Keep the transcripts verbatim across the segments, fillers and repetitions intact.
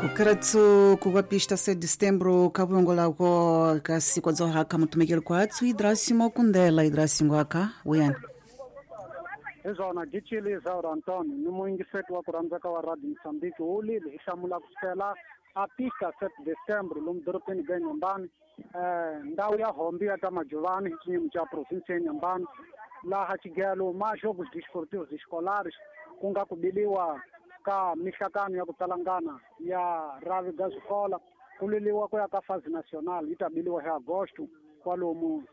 Kukaratsu kuwapista sete de setembro kabungolako kasikwadzohaka mutumikeli kwatsu idrasimo kundela idrasingo aka wuyani Izona gichili Isaura Antônio ni muingiseti wa kurhandzaka wa Radio Moçambique wu lile hi hlamula kusukela a pista sete de setembro lomu dorobeni ga Inhambane eh ndhawu ya Hombi ya Tamajuvani hi xinyimi xa provinsi ya Inhambane laha xigelo ma jogos desportivos escolares ku nga ku biliwa ka mihlakano ya ku talangana ya ravi ga swikola ku liliwa ku ya ka fase nacional yi ta biliwa hi agosto kwalomu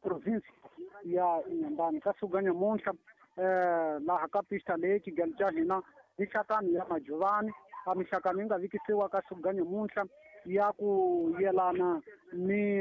provinsi ya Inhambane ka siku ga nyamuntlha eh laha ka pista leyi xigelo xa hina mihlakano ya Majuvani a mihlakano yi nga vikisiwa ka siku ga nyamuntlha ya ku yelana ni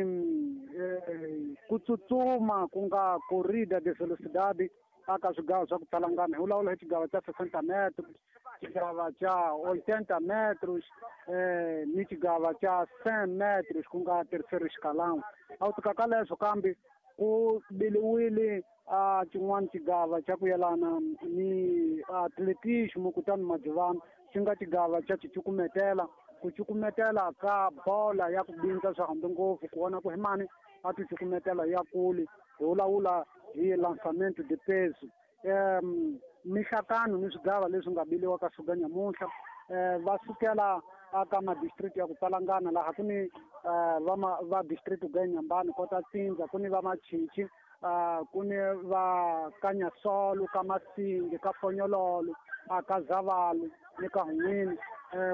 eh, ku tsutsuma ku nga corrida de velocidade aka swigava swa ku talangana hi vulavula hi xigava xa sessenta metros xigava xa oitenta metros eh, ni xigava xa cem metros ku nga terceiro escalão. A wu tika ka leswo kambe ku biliwile a xin'wana xigava xa ku yelana ni atletismo kutani Majuvani xi nga xigava xa xicukumetela ku cukumetela ka bola ya ku bindza swa hambi ngopfu ku vona ku hi mani a ti cukumetela ya kule hi vulavula hi lançamento de peso. um mihlakano ni swigava leswi nga biliwa ka siku ga nyamuntlha um va sukela aka madistrict ya ku talangana laha ku ni va va district ga Inhambane kota Tsinza ku ni va Machichi ku ni va Kanyasolo ka Masingi ka Fonyololo aka Zavalu ni ka Hun'wini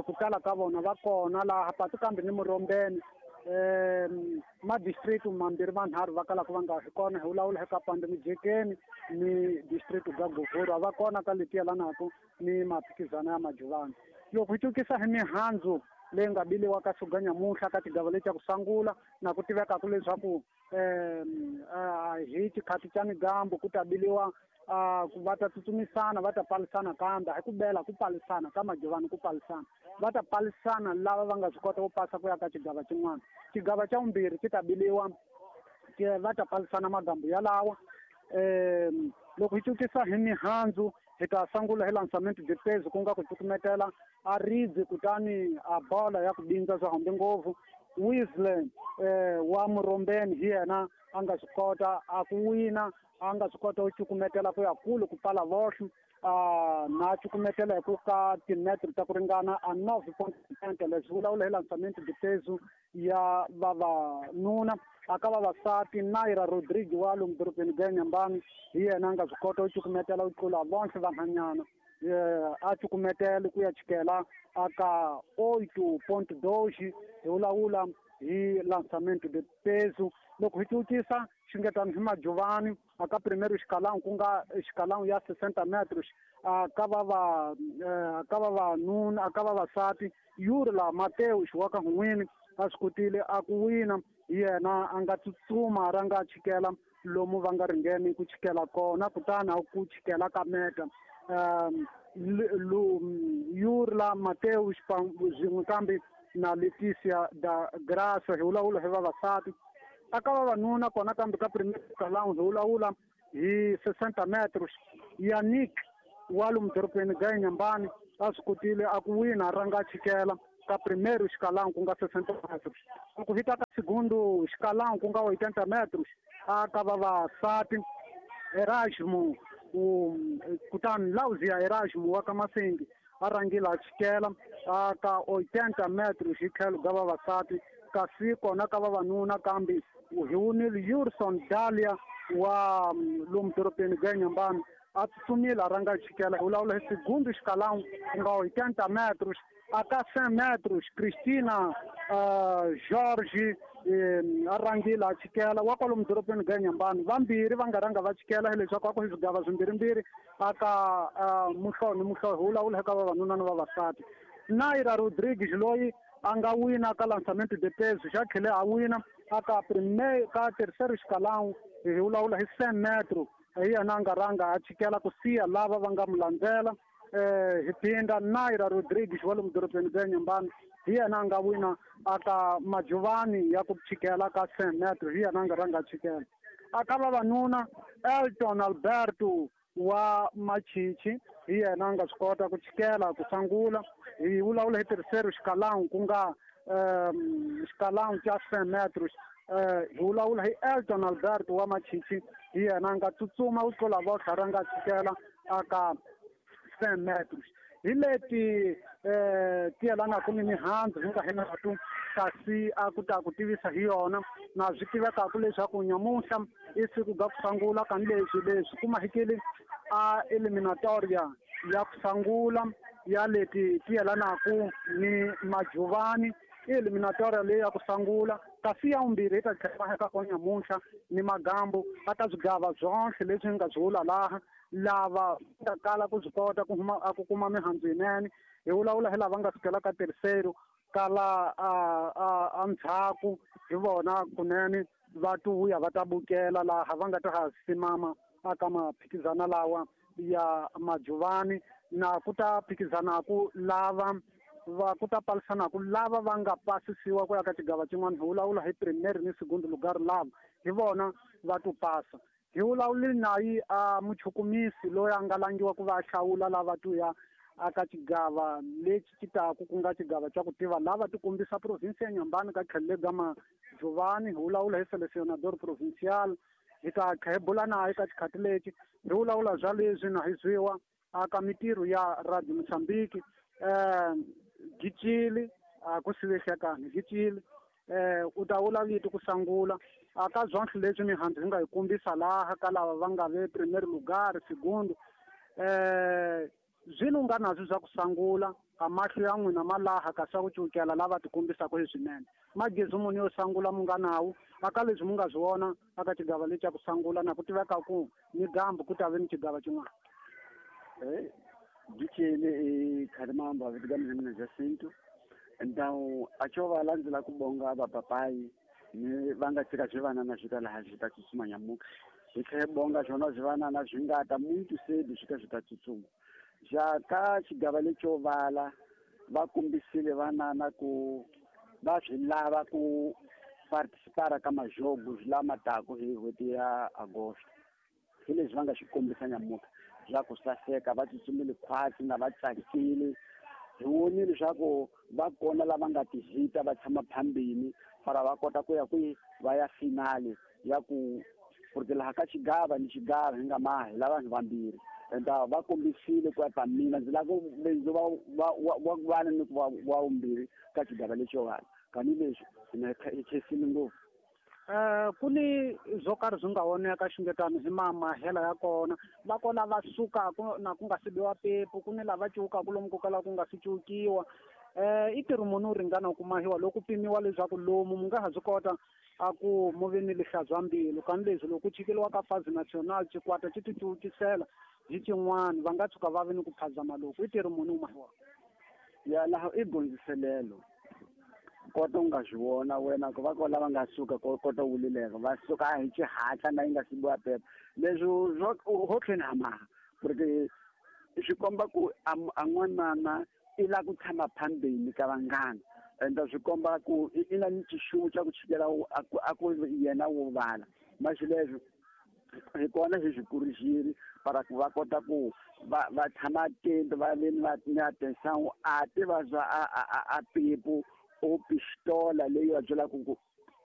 ku tala ka vona va kona laha patu kambe ni Murombeni um madistrict mambirhi manharhu va kalaka va nga hi kona hi vulavula hi ka Pande Mijekeni ni district ga Govhuru va kona ka leti yelanaka ni maphikizano ya Majuvani. Loko hi cukisa hi mihandzu leyi nga biliwa ka siku ga nyamuntlha ka tigava leti ya ku sungula na ku tivekaka leswaku um hi xikhati xa migambo ku ta biliwa va ta tsutsumisana va ta palisana kambe hi ku bela ku palisana ka Majuvani ku palisana va ta palisana lava va nga swi kota ku pasa ku ya ka xigava xin'wana. Xigava xa vumbirhi xi ta biliwa va ta palisana magambo yalawa. um loko hi cukisa hi mihandzu hi ta sungula hi lançamento de peso ku nga ku cukumetela a ribye kutani a bola ya ku bindza swa hambi ngopfu. Weasley eh, wa Murombeni hi yena a nga swi kota a ku wina a nga swi kota ku cukumetela ku ya kule ku pfala vohlo na cukumetela hi ku ka timetro ta ku ringana a nove point cinquenta leswi vulavula hi lançamento de peso ya vavanuna. Aka vavasati Naira Rodrigues wa lomu dorobeni ga Inhambane hi yena a nga swi kota ku cukumetela ku tlula vonhle vanhwanyana a cukumetela ku ya chikela aka oito ponto dois hi vulavula hi lançamento de peso. Loko hi cukisa xingetani hi Majuvani aka primeiro escalão ku nga escalão ya sessenta metros aka vava aka vavanuna aka vavasati Yurla Mateus wa ka Hun'wini a swi kotile a ku wina hi yena a nga tsutsuma ra nga chikela lomu va nga ringeni ku chikela kona kutani a ku chikela ka meta. um Yurla Mateus swin'we kambe na Leticia da Graça hi vulavula hi vavasati. Aka vavanuna kona kambe ka primeiro escalão hi vulavula hi sessenta metros Yannick wa lomu dorobeni ga Inhambane a swi kotile a ku wina a rhanga chikela ka primeiro escalão ku nga sessenta metros. Loko hi ta ka segundo escalão ku nga oitenta metros aka vavasati Erasmo kutani Lauzia Erasmo wa ka Masingi a rhangile a chikela aka oitenta metros hi tlhelo ga vavasati. Kasi kona ka vavanuna kambe hi wunile Yurson Dalia wa lomu dorobeni ga Inhambane a tsutsumile a rhanga chikela hi vulavula hi segundo escalão ku nga oitenta metros. Aka cem metros Cristina uh, Jorge a rhangile a chikela wa kwalomu dorobeni ga Inhambane. Vambirhi va nga rhanga va chikela hileswaku a ku hi swigava swimbirhimbirhi aka uh, muhlovo ni muhlovo hi vulavula eka vavanuna ni vavasati. Naira Rodrigues loyi a nga wina ka lançamento de peso xa tlhele a wina aka primeiro ka terceiro escalão hi vulavula hi cem metros hi yena a nga rhanga a chikela ku siya lava va nga mu landzela. Eh, hi phinda Naira Rodrigues wa lomu dorobeni ga Inhambane hi yena a nga wina aka Majuvani ya ku chikela ka cem metros hi yena a nga rhanga a chikela. Aka vavanuna Elton Alberto wa Machichi hi yena a nga swi kota ku chikela ku sungula Hi vulavula hi terceiro escalão ku nga um, escalão xa cem metros. Uh, hi vulavula hi Elton Alberto wa Machichi, hi yena a nga tsutsuma ku tlula votlha ra nga tshikela aka cem metros. Hi leti eh, ti yelanaka ni mihandzu hi nga hi natu kasi a ku ta ku tivisa hi yona na swi tivekaka leswaku nyamuntlha i siku ga ku sungula ka leswi leswi kuma hikeli a eliminatoria ya ku sungula ya leti ti yelanaka ni majuvani. I eliminatoria leyi ya ku sungula kasi ya vumbirhi yi ta tlhela eka kona nyamuntlha ni magambu a ta swigava byonhle leswi nga byi vula laha lava nga kala ku swi kota ku huma a ku kuma mihandzu yinene. Hi vulavula hi lava nga sukela ka terceiro kala a a a ndzhaku hi vona kunene va tuvuya va ta bukela laha va nga ta ha simama aka maphikizana lawa ya majuvani na ku ta phikizanaku lava va ku ta palisanaku lava va nga pasisiwa ku ya ka xigava xin'wana. Hi vulavula hi primeiro ni segundo lugar lava hi vona va tu pasa. Hi vulavuli nayi a muchukumisi loyi a nga langiwa ku va a hlawula lava tu ya aka xigava lexi xi taku ku nga xigava xa ku tiva lava ti kombisa province ya Nyambani ka tlhelo ga majuvani. Hi vulavula hi selecionador provincial. Hi ta kha hi bula naye ka xikhati lexi hi vulavula bya leswi na hi zwiwa aka mitirho ya Radio Mozambique. Eh, Gicili a ku sivehlekani Gicili eh, u ta vula vito ku sungula aka byonhle leswi mihandzu hi nga hi kombisa laha ka lava va nga ve primeiro lugar segundo eh, zwino nga nazwo swa ku sungula a mahlo ya n'wina ma laha ka swa ku cukela lava ti kombisaka hi swinene. Magezi muni yo sungula mu nga nawu aka leswi mu nga swi vona aka xigava lexi xa ku sungula na ku tiveka ku ni gambu ku ta ve ni xigava xin'wana. Eh, Gicili i Khalimamba vitu gani mina Jacinto. Então acho valandzela ku bonga vapapai ni va nga tshika swivanana swi ta laha swi ta tsutsuma nyamuka. Hi tlhela hi bonga swona swivanana swi nga ta muito cedo swi ta swi ta tsutsuma. Ja ka xigava lexo vala va kombisile vanana ku va swi lava ku participar ka majogo lama taka hi n'hweti ya Agosto. Hi leswi va nga swi kombisa nyamuka swa ku saseka, va tsutsumile khwatsi na va tsakile. Hi vonile leswaku va kona lava nga tihita va tshama phambili para va kota ku ya kwihi va ya finale ya ku porque laha ka xigava ni xigava hi nga mahi la vanhu vambirhi. Enta va kombisile ku ya mina ndzi lava ku ndzi va va wa vana ni ku va wa vumbirhi ka xigava lexiwani kani leswi hina hi khensile ngopfu. Eh, ku ni swo karhi swi nga voneka xungetano hi mamahela ya kona va kona va sukaka na ku nga si biwa pepu ku ni lava cukaku lomu ko kala ku nga si cukiwa. Eh, i ntirho muni wu ringana ku mahiwa loko pimiwa leswaku lomu mu nga ha swi kota a ku mu vi ni lihlazwa mbilu kani leswi loko ku chikeliwa ka Fazi National xikwata xi ti cucisela hi xin'wana va nga tshuka va vi ni ku phazama loko i ntirho muni wu mahiwaka. Ya laha i gondziselelo kota u nga swi vona wena ku va ko lava nga suka kota wulileka va suka hi xihatla na yi nga si biwa pepa leswi ho tlhela ha maha porque swi komba ku a n'wanana i lava ku tshama phambili ka vanghana ende swi komba ku i na ni xixuvo xa ku chikela a ku yena wo vala masi leswi hi kona hi swi kurixile para ku va kota ku va va tshama atento va ve ni ni atenção a tiva swa a a a pepu o pistola leyi va byelaka ku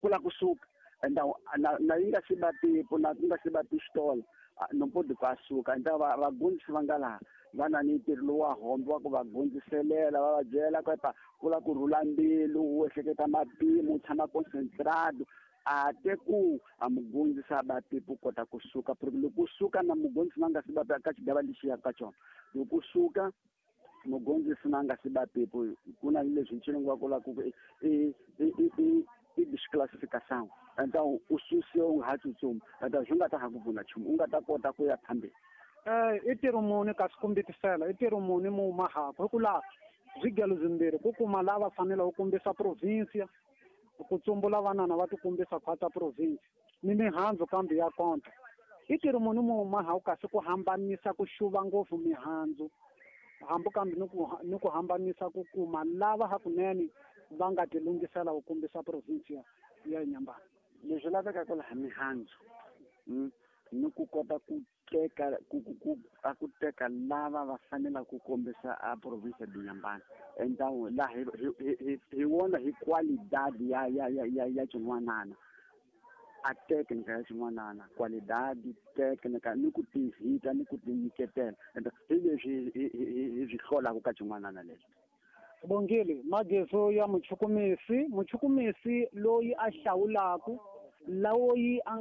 ku la kusuka então na na yi nga si ba pepu na ku nga si ba pistola no pode ku a suka. Então va vagondzisi va nga laha va na ni ntirho lowu wa hombo wa ku va gondziselela va va byela ku epa ku la ku rhula mbilu u ehleketa mapimo u tshama concentrado a te ku a mugondzisi a ba pepu kota kusuka porque loko u suka na mugondzisi na nga si ba ka xigava lexi yaka ka xona loko u suka mugondzisi na nga si ba pepu ku na leswi nchilungu wa ku la ku i i i i disclassificação. Então u susiwa u nga ha tsutsumi então swi nga ta ha ku pfuna nchumu u nga ta kota ku ya phambili. Eh, i ntirho muni kasi kumbetisela i ntirho muni mu mahaka hi ku laha swigelo swimbirhi ku kuma lava fanele ku kombisa province ku tsumbula vanana va ti kombisa khwatsa province ni mihandzu kambe ya konta. I ntirho muni mu mahaka kasi ku hambanisa ku xuva ngopfu mihandzu hambi kambe ni ku ni ku hambanisa ku kuma lava hakunene va nga ti lunghisela ku kombisa province ya Nyambani. Leswi lavekaka laha mihandzu ni ku kota ku teka ku ku a ku teka lava va fanelaka ku kombisa a province de Inhambane então la hi hi hi wona hi qualidade ya ya ya ya xin'wanana a técnica ya xin'wanana qualidade técnica ni ku tihita ni ku tinyiketela ento hi leswi hi swi hlolaka ka xin'wanana leswi. Bongile magezo ya muchukumisi muchukumisi loyi a hlawulaku loyi a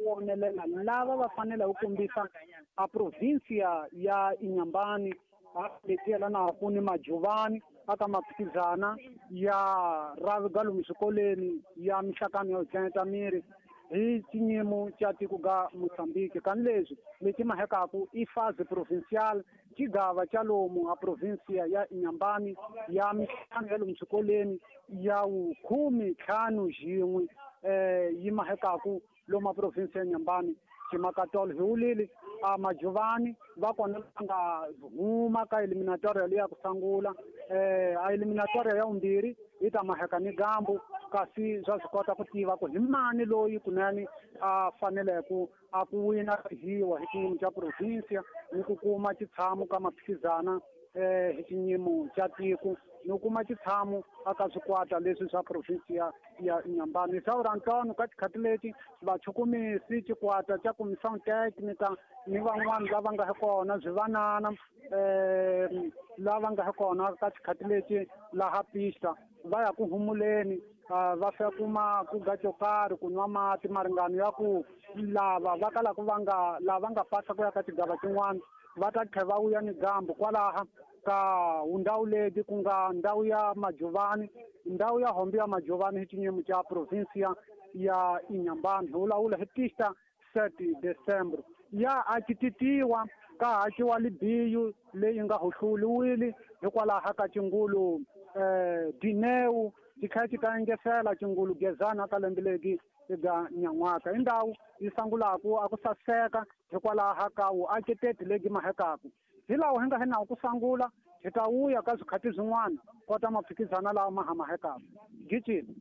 wonelela lava va fanele ku kombisa a provincia ya Inhambane a leti yelanaka ni Majuvani aka maphikizana ya raviga lomu swikolweni ya mihlakano yo tleneta miri hi xinyimo xa tiko ga Mozambique kani leswi leti mahekaku i fase provincial xigava xa lomu a provincia ya Inhambane ya mihlakano ya lomu swikolweni ya wukhume ntlhanu xin'we eh yi mahekaku loma province ya Inhambane ximakatolo hi wulile a Majuvani va kona va nga huma ka eliminatoria leyi ya ku sungula eh a eliminatoria ya vumbirhi yi ta maheka ni gambu kasi swa swi kota ku tiva ku hi mani loyi kunene a faneleke a ku wina hiwa hi xiyimo xa provincia ni ku kuma xitshamo ka maphikizana eh hi xiyimo xa tiko ni kuma xitshamo aka swikwata leswi swa province ya Inhambane. Saura Antonio ka tikhathi leti vachukumisi xikwata xa comissão técnica ni van'wana lava nga kona swivanana eh lava nga kona ka tikhathi leti laha pista va ya ku humuleni va fika kuma ku ga xo karhi ku nwa mati maringano ya ku lava va kala ku va nga lava nga pasa ku ya ka xigava xin'wana va ta tlhela va vuya ni gambu kwalaha ka ndhawu leti ku nga ndhawu ya Majuvani ndhawu ya hombi ya Majuvani hi xinyimo xa provincia ya Inhambane hi vulavula hi pista sete December ya akititiwa ka hakiwa libiyu leyi nga hohluliwile hikwalaho ka xingulu eh dineu xi xi ta engesela xingulu gezana ka lembe legi ega nyan'waka i ndhawu yi sangulaku a ku saseka hikwalaho ka wu akiteti legi mahekaku hi lawa hi nga hi nawu ku sangula hi ta wuya ka swikhati swin'wana kota maphikizana lawa ma hamahekaku gicini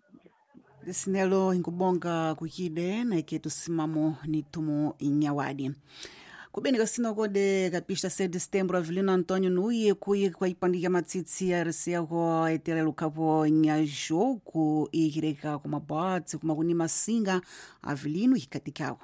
lisinelo inkubonga kukide na iketu simamo ni tumo inyawadi kubeni kasino kode kapista sete de setembro Avelino Antônio nuye kuye kwa ipandika matsitsi ya risiako eterelukhapo nyajogo ikireka kumabatsi kumakuni masinga Avelino ikatikako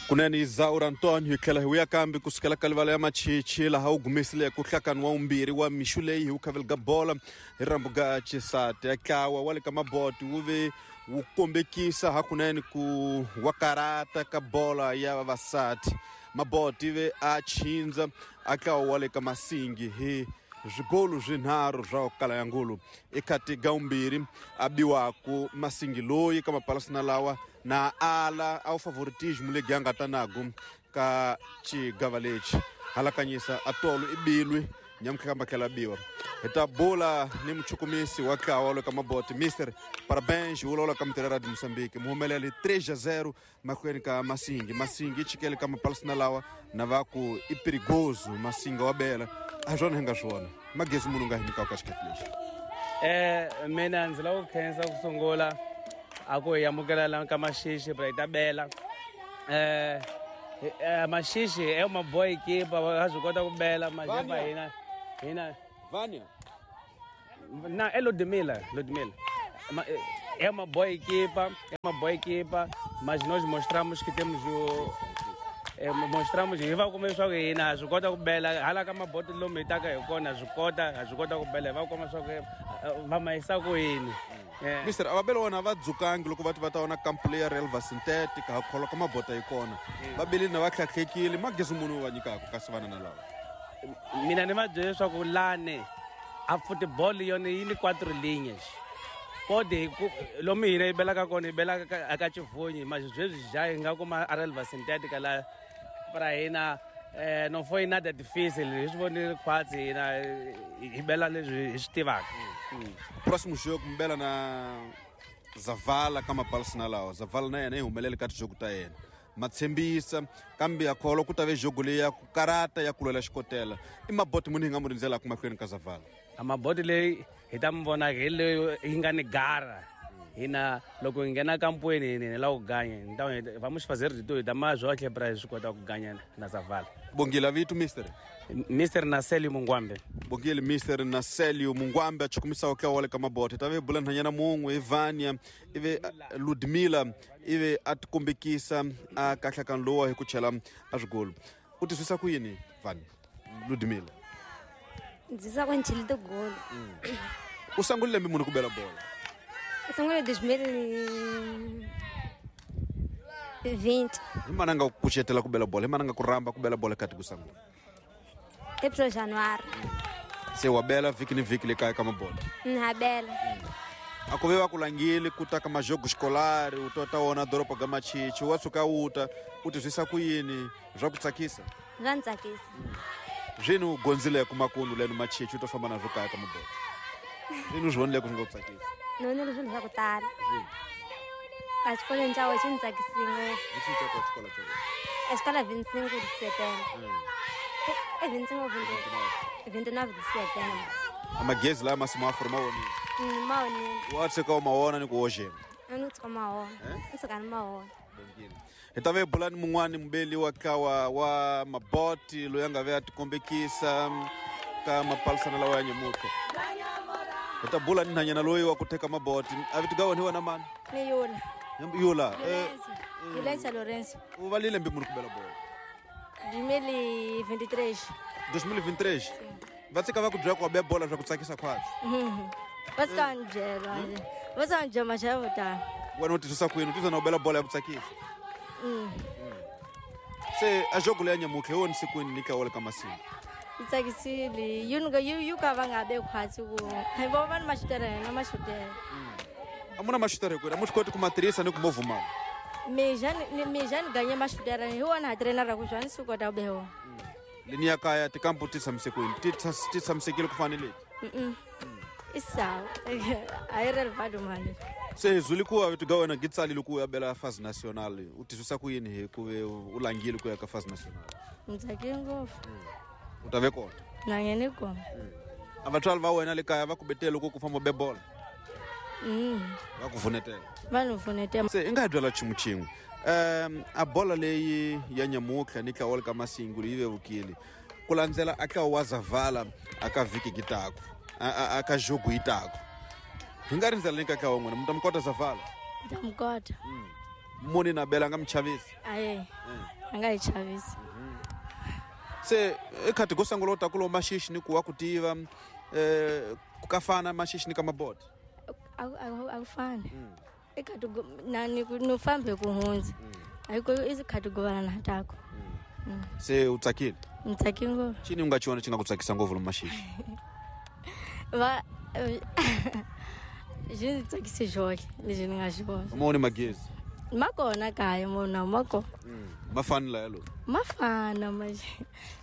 kunene Zaura Antonio hi tlhela hi vuya kambe kusukela ka livala ya machichi laha wu gumisile ku hlakani wa vumbirhi wa mixu leyi hi wu khaveli ga bola hi rambu ga chisati ya tlawa wa le ka maboti wu ve wu kombekisa hakunene ku wa karata ka bola ya vavasati maboti ve a chindza a tlawa wa le ka masingi hi swigolu swinharhu swa kala ya ngulu ekhati ga vumbirhi a biwaku masingi loyi ka mapalasina lawa na ala a wu favoritismo legi a nga ta nago ka xigava lexi halakanyisa a tolo i bilwi nyamutlha ka matlhela biwa hi ta bula ni muchukumisi wa tlawa wa ka maboti mister parabéns wu ka mitirhi ya Moçambique muhumeleli três a zero mahlweni ka masingi masingi i chikele ka mapalasina lawa na va ku i perigoso masinga wa bela a swona hi nga swona magezi munhu nga hi nyikaka ka xikhathi lexi eh mina ndzi lava ku khensa ku sungula a ku hi amukela la ka Maxixi bra hi ta bela eh Maxixi é uma boa equipe va swi kota ku bela majepa hina hina Vânia na é Ludmila Ludmila é uma boa equipa é uma boa equipa mas nós mostramos que temos o é, mostramos hi va kuma leswaku hina ha swi kota ku bela hala ka maboti lomu hi taka hi kona ha swi kota ha swi kota ku bela hi va kuma swa ku va ma yisa ku yini. Mister a va bela wona va dzukangi loko va ti va ta vona kampu leya relva synthetic ha kholwa ka mabota yi kona va belile na va tlhatlhekile magezi munhu va nyikaka kasi vana na lava mina ni va byele leswaku lani a football yona yi ni quatro linhas pode lomu hina yi belaka kona yi belaka aka Chivonyi mas sweswi já hi nga kuma a relva synthetic la para hina eh não foi nada difícil hi swi vonile khwatsi hina hi bela leswi hi swi tivaka. Próximo jogo mi bela na Zavala ka mapalasina lawa Zavala na yena yi humelele ka tijogo ta yena ma tshembisa kambe ya kholwa ku ta ve jogo leyi ya ku karata ya ku lwela xikotela i maboti muni hi nga mu rindzelaka mahlweni ka Zavala a maboti leyi hi ta mi vonaka hi leyi yi nga ni gara Hina loko hi nghena kampweni hi lava ku ganya então vamos fazer de tudo da mais joque para swi kota ku ganya na Zavala. Bongile vito mister Mister Naselio Mungwambe. Bongile Mister Naselio Mungwambe a chukumisa ka wale ka mabote ta ve bula nhanyana mun'we Ivania ive Ludmila ive a tikombekisa a kahlakano lowa hi ku chela a swigolo. U twisisa ku yini Vania Ludmila? Ndzi sa ku ni tigolo. U sungule lembe muni ku bela bola? Sungule dois mil e vinte. Hi mana nga ku kucetela ku bela bola, hi mana nga ku rhamba ku bela bola kati ku sungula? April January. Se wa bela vhiki ni vhiki le kaya ka mabola? Ha bela. A ku ve va ku langile ku ta ka majogo escolar, u tota wona doroba ga Machichi, wa suka u ta, u twisisa ku yini swa ku tsakisa? Swa ni tsakisa. Zwini u gonzile ku makunu leno Machichi u to famba na swo kaya ka mabola? Zwini u swi vonile ku swi nga ku tsakisa? Ni vonile swilo swa ku tala. A xikolweni xa wena xi ni tsakisile ngopfu. Hi xihi xa xikolo xa wena? A xikolo vinte e cinco de setembro. E vinte e cinco vinte e nove de setembro. A magezi laya masimu a ma vonile? Ma vonile. Wa tshika u ma vona ni ku hoxeni? A ni tshika ma vona. Ni tshika ni ma vona. Hi ta ve bulani mun'wani mubeli wa ntlawa wa maboti loyi a nga ve a tikombekisa ka mapalisana lawa ya nyamutlha. Hi ta bula ni nhanyana loyi wa ku teka maboti. A vito ga wena hi wena mani? Ni Yula. Yula. Yulensa Lorenzo. U va lembe muni ku bela bola? dois mil e vinte e três. dois mil e vinte e três? Va tshika va ku byela ku wa be bola swa ku tsakisa khwatsi? Va tshika va ni byela. Va tshika va ni byela maxaka vo tala. Wena u twisisa ku yini? U twisisa na u bela bola ya ku tsakisa? Se a jogo leya nyamutlha hi wona sikwini ni ka wale ka masimu? Yi tsakisile. Yi yi ka va nga be khwatsi ku hi vo va ni maxutere na maxutere. A mu na maxutere kwini? A mu swi koti ku ma tirhisa ni ku mo vumala? Mina ni mina ni ganye maxutere hi wona ha trainer ku jwani swi kota ku be wona. Lini ya kaya tikampu ti tshamiseke kwini? Ti ti tshamisekile ku fana ni leti? I sawa. A yi relevant mali. Se zuli ku wa ga wena gitsalile ku ya bela phase national. U twisisa ku yini hi ku ve u langile ku ya ka phase national? Ni tsakile ngopfu. U ta ve kona? Na nghene kona. A vatswari va wena le kaya va ku betele loko ku famba be bola? Va ku vunetela? Va ni vunetela. Se i nga hi byela nchumu xin'we. Um a bola leyi ya nyamutlha ni ntlawa ka Masingu yi vevukile. Ku landzela a ntlawa wa Zavala a ka vhiki gitaku. A a ka jogo yitaku. Hi nga rindzela ni ka ntlawa n'wina mi ta mi kota Zavala? Mi ta mi kota. Muni na bela a nga mi chavisi? Aye. A nga hi chavisi. Se i khati go sungula u ta ku lo Maxixi ni ku wa ku tiva eh ka fana Maxixi ni ka maboti? A a ku fani. I khati na ni ku no fambe ku hundza. A ku i khati go vana na tako. Se u tsakile? Ni tsakile ngopfu. Xini u nga xi vona xi nga ku tsakisa ngopfu lomu Maxixi? Va xi ndzi tsakise xoxe lexi ni nga xi vona. Ma vone magezi? Ma kona kaya mona ma kona. Ma fani laya lowu? Ma fana manje.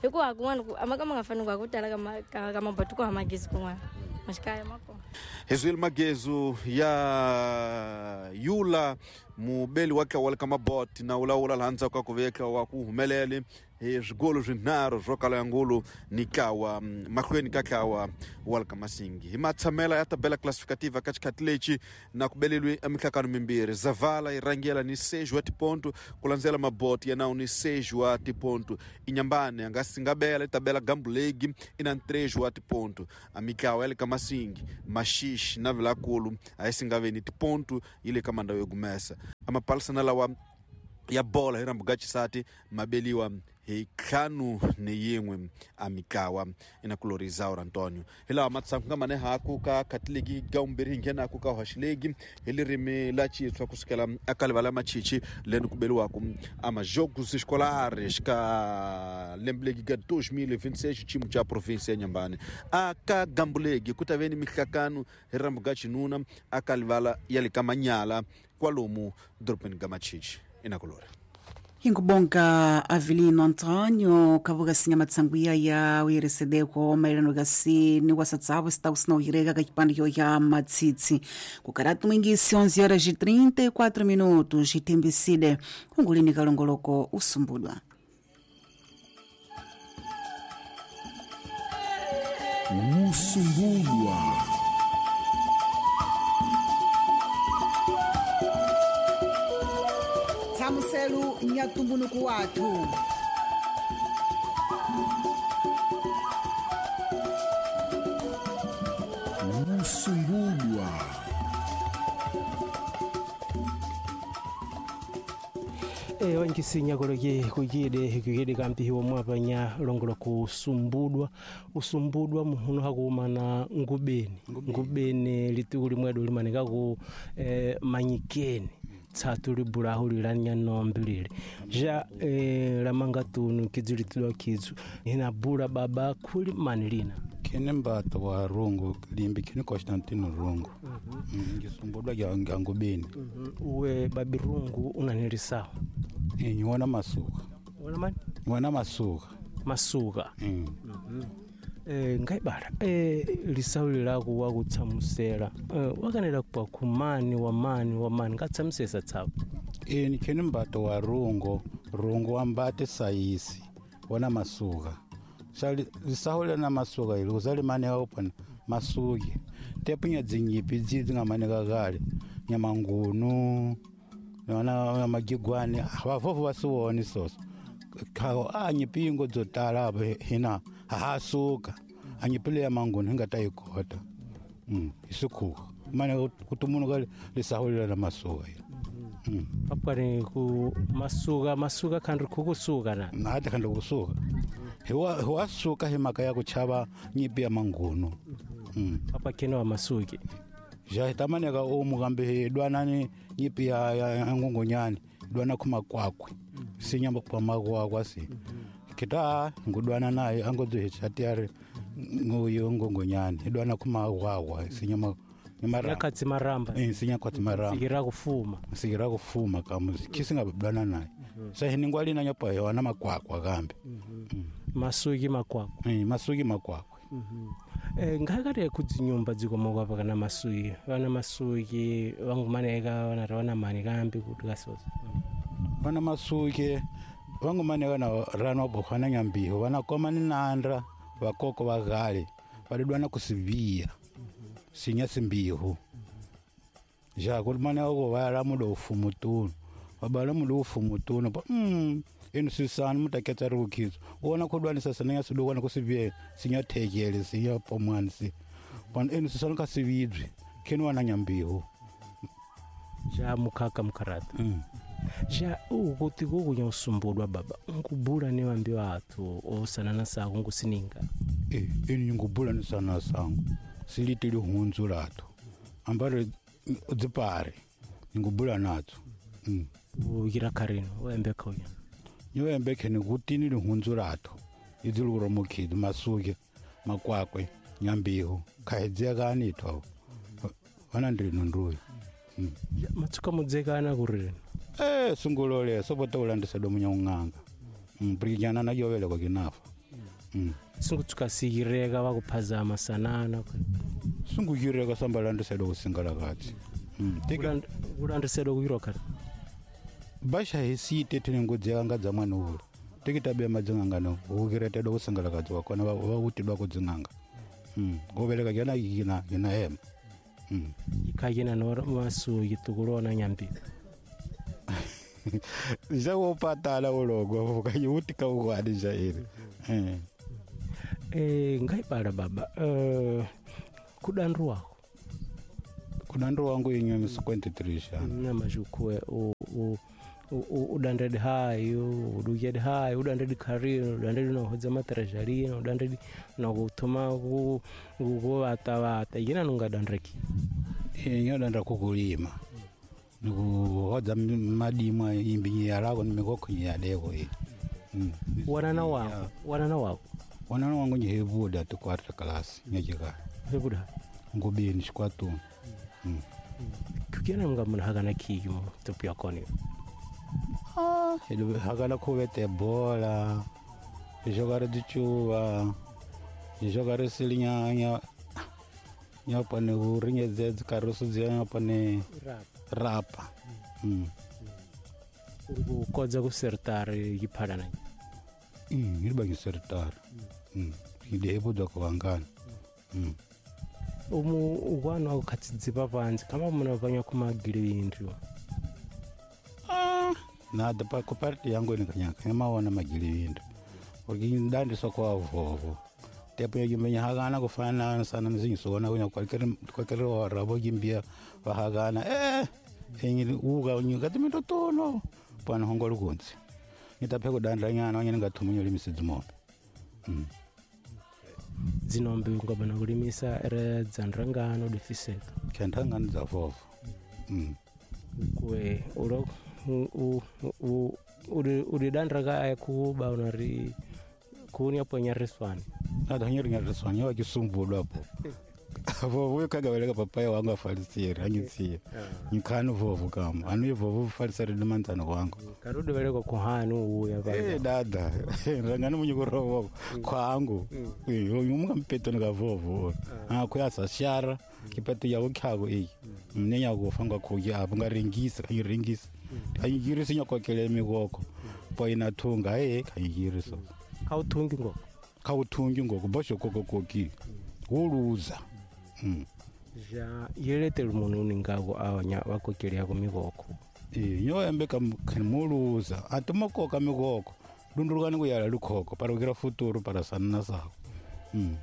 Hikuva kun'wana ku a ma ka ma nga fani ku tala ka ka ka maboti ku hava magezi kun'wana. Maxikaya ma kona. Hezwile magezu ya Yula mubeli wa ntlawa ka maboti na wulawula laha ndzhaku ka ku veka wa ku humelele hi swigolo swinharhu swo kala ya ngulu ni ntlawa mahlweni ka ntlawa wa le ka Masingi. Hi matshamela ya tabela classificativa ka xikhati lexi na ku beleliwe emihlakano mimbirhi. Zavala yi rhangela ni seis wa tiponto ku landzela maboti ya nawu ni seis wa tiponto. Inyambane a nga singabela tabela Gambulegi i na três wa tiponto. A mitlawa ya le ka Masingi, Maxixi na Vilakulu a yi singaveni tiponto yi le ka mandawu yo gumesa. A mapalisana lawa ya bola hi rambu ga xisati mabeliwa hi ntlhanu ni yin'we a mitlawa inakulori Zaura Antonio. Hi lawa matsangu nga mane haku ka khatilegi ga vumbirhi hi nghenaku ka hoxilegi hi lirimi la Xitswa kusukela eka livala Machichi leni ku beliwaku a majogos escolares ka lembe ga dois mil e vinte e seis xiyimo xa province ya Nyambane. A ka Gambulegi ku ta ve ni mihlakano hi rambu ga xinuna aka livala ya le ka Manyala kwalomu dorobeni ga Machichi inakulori. Hinkubonga Avelino Antonio kavuga sinya matsanguya ya uyeresedeko maererano gasi ni wasatsavo sita usina ka kipande ya matsitsi kukaratu mwingisi onze horas e trinta e quatro minutos itembisile kungulini kalongoloko usumbulwa. Usumbulwa. Nhlamuselo ya ntumbuluko wathu. Usumbulwa. E wankisinya koloke kukide kukide kampi wa mwapanya longola kusumbudwa usumbudwa muhuno hakumana ngubeni ngubeni lituku limwedo limaneka ku eh, manyikeni tsatu libulahu lilanya nombilile ja eh, lamanga tunu kizu litulwa kizu ina bula baba kuli manilina kene mbato wa rungu limbi kene Constantino rungu ngisumbudwa mm -hmm. Ngubeni mm -hmm. Uwe babi rungu unanilisawa e niwana masuka wana mani niwana masuka masuka mm. mm -hmm. Eh ngaibala eh lisauli lako wakutsamusela eh, wakanela kwa kumani wa mani wa mani ngatsamusesa tsapo e nikene mbato wa rungu rungu wambate saisi wana masuka Sali lisahule na masuka ili uzali mane open masuki tepunya dzinyipi dzidzi ngamane kakale nyamangunu na magigwane abavovu basuwoni soso kawo anyipingo dzotala apo hina hasuka anyipile ya mangunu hingatayikota mm isukhuka mane kuti munhu kale lisahule na masuka ili mm apane ku masuka masuka khandri kukusuka na na khandri kusuka hiwa hiwasuka himaka ya kuchava nyipi ya mangunu mm apa kene wa masuki ja tamaneka omu kambe hidwanani nyipi ya, ya ngongonyani dwana kumakwakwe sinya kwa makwakwa si kita ngudwana naye angodzichati ari nguyo ngongonyani idwana kumakwakwa sinya mara yakatsi maramba eh sinya kwatsi maramba sikira kufuma sikira kufuma kamuzi kisinga dwana naye sa hiningwali na nyapa wana makwakwa kambe masuki makwakwa eh masuki makwakwa eh ngakati kudzinyumba dzikomoka pakana masuki vana masuki vangumaneka vana vana mani kambi kuti kasoza vana masuki vangumaneka na rano bohwana nyambiho vana koma ni nandra vakoko vagale validwana kusiviya sinya simbiho ja kulimana ko vala mudo fumutunu vabala mudo fumutunu pa mm inu sisani mutaketsa ri kukhidzo wona khudwanisa sinenya sidokwana kusiviye sinya thekele sinya pomwani si pana inu sisani ka sivibyi kheni wana nyambiho ja mukhaka mukharata mm. Ja ukuti kukunya usumbudwa baba nkubula ni wambi wathu osanana sako nkusininga eh inu ngubula ni sana sangu silitili hunzu lathu ambare dzipare ngubula natso mm ukira karino wembe khoya niwembe khene kutini lihunzu lathu idziluro mukhidi masuke makwakwe nyambiho khaidzekani itho vana ndrino nduyi matsuka mudzekana kurino eh sungulole sobota ulandisa domunya ung'anga mprinyana na yoveleko kinafa sungutsuka sikireka vakuphazama sanana sungukireka sambalandisa do kusingala katsi kulandisa do kuyiroka basha hisite tinengodzeka dza mwana ule tikitabe madzinganga no ukirete do kusangala kadzi wakona va uti dwa kudzinganga mm goveleka yana yina yina hema mm ikayina no masu yitukulona nyambi jawo patala ulogo vuka ka ukwadi jairi eh eh ngaibala baba eh kudandu wako kudandu wangu inywe misikwenti three na majukwe o o udandedi hayo udugedi hayo udandedi karino udandedi no hodza matrejarino udandedi no kutuma ku ku vata yina nunga dandreki inyo dandra kukulima nikuhodza madimwa imbi yalako nimikoko yaleko iyi wanana wako wanana wako wanana wangu nyihebuda tukwarta class nyajika hebuda ngubini shikwatu mm. Kukiana mga muna hagana kiki mo topu yakoni ah hagana kuvete bola jogare dichuva jogare silinya nya pane uringedze karusu dzia pane rapa mm uri kukodza kusertari yiphalana mm iri bangisertari mm idebuda kubangana mm umu ukwana ukhatsidzipa panzi kama muna panya kumagilindriwa ah Nada pa ku parte yangu nikanyaka maona magilivindo porque ndandiswa kwa vovo tepo yagimbenya hagana kufana sana nzingisona kunya qualquer qualquer hora vogimbia vahagana eh enyi uga nyikati mitotono pana hongo lukunzi ngitaphe kudandla nyana wanyene ngathumunya limisi dzimombe mm. Dzinombe ungabana kulimisa ere dzandrangano difiseka khendangano dza vovo mm. Kwe ulo u u uri uri dandra ka kuba unari kuni apo nyariswani ada nyari nyariswani wakisumbulwa apo vovo kagaveleka papai wangu afalisiri angitsiya nyikhani vovo kama anu vovo falisiri ni manzana wangu karudi veleka kuhani uya pa eh dada rangani munyikorovo kwangu umunga mpetoni ka vovo ah kuyasa shara kipati yawo khako iyi mnenya kufa ngakhuya apo ngaringisa kanyirengisa kanyirisa nyakokele mikoko poina thunga eh kanyirisa khawuthungi ngoko khawuthungi ngoko bosho koko koki wuluza Mm. Ja yeletele munhu uningako awanya vakokeleyako mikoko e nyo embe kam muluza atimokoka mikoko lundulukani kuyala lukhoko para kukira futuru para sanna sako mm.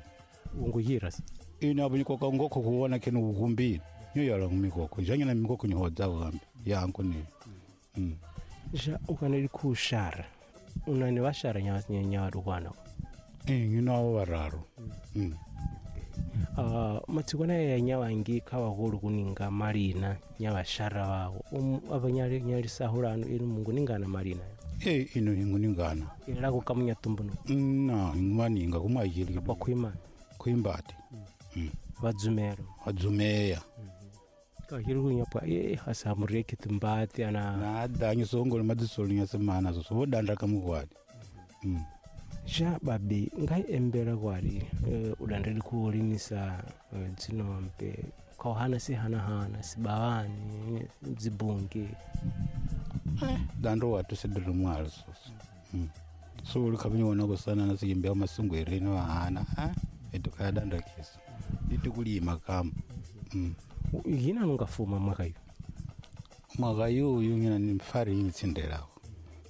Unguyira ine apo nyikoka ngokho kuona kene ukumbile nyo yala mikoko janyana mikoko nyihodzako kambi yangu ni mm. Ja ukaneli kushara unani vashara nyawadukwana e nginawo vararu mm. Uh, matsikwana ya nyawangi khawakulu kuninga malina nyawashara wawo um, apa nyali nyalisahulano inu mungu ningana malina e inu hingu ningana ilako kamunya tumbuno na maninga kumayili kwa kuima kuimbati mm. Vadzumero vadzumeya mm. Kahiri kunyapwa e hasa mureke tumbati ana na danyi songolo madzisolo nyasemana so vodandra kamukwadi mm. Ja babi ngai embera kwari uh, udandeli kuolimisa uh, dzinombe kauhana sihanahana sibawani dzibungi eh, dando watu sidiri mwalo soso mm. So ulikhabinyona kusana nasikimbia masungwereni wahana ah etukaya danda kiso itikulima kama mm. Yina nungafuma mwaka yu mwaka yuyu ngina nimfari yitsindelako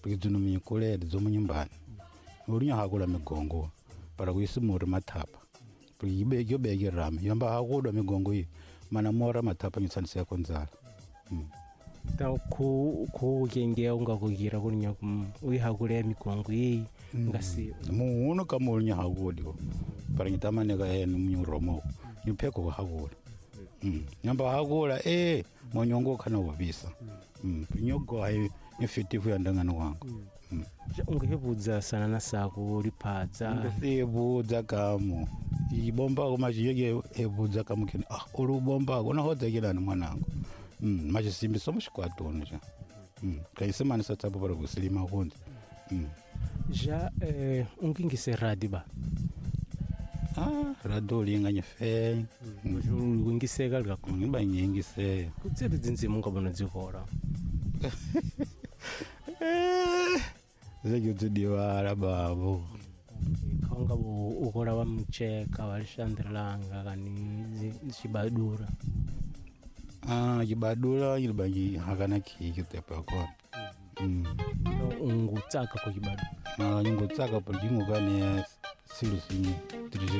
porque mikulele dzomunyumbani ulinya hakula migongo para kuisimura mathapa porque ibe yobeke rame yamba hakudwa migongo iyi mana mora mathapa nyitsanisa konzala mm. Ta ku ku kengea ungakugira kulinya uyihakulea migongo iyi ngasi muno kama ulinya hakudi para nyitamaneka ene munyuromo nyipheko hakula mm. Yamba hakula eh monyongo khana ubisa mm. Nyogo hayi nyifitifu yandangano wangu mm. Ungihebudza sana na sako liphatsa ngisebudza kamo ibomba kumajiyeke hebudza kamo kene ah ulubomba kona hodzekelani mwanangu mm machisimbi somuxikwatoni xa mm kayisemani satsapo para kusilima kunzi mm Ja eh ungingise radi ba ah rado linganye fe ungiseka lika ngiba ngingise kutseri dzinzimu ngabona dzikora zekudzidiwala babo kaunga ukola wa mcheka walishandrilanga kani xibadura ah xibadura yilibangi hakana khiki tepo yakona mm ungutsaka ku xibadura ah ngutsaka por jingukane silu sinyi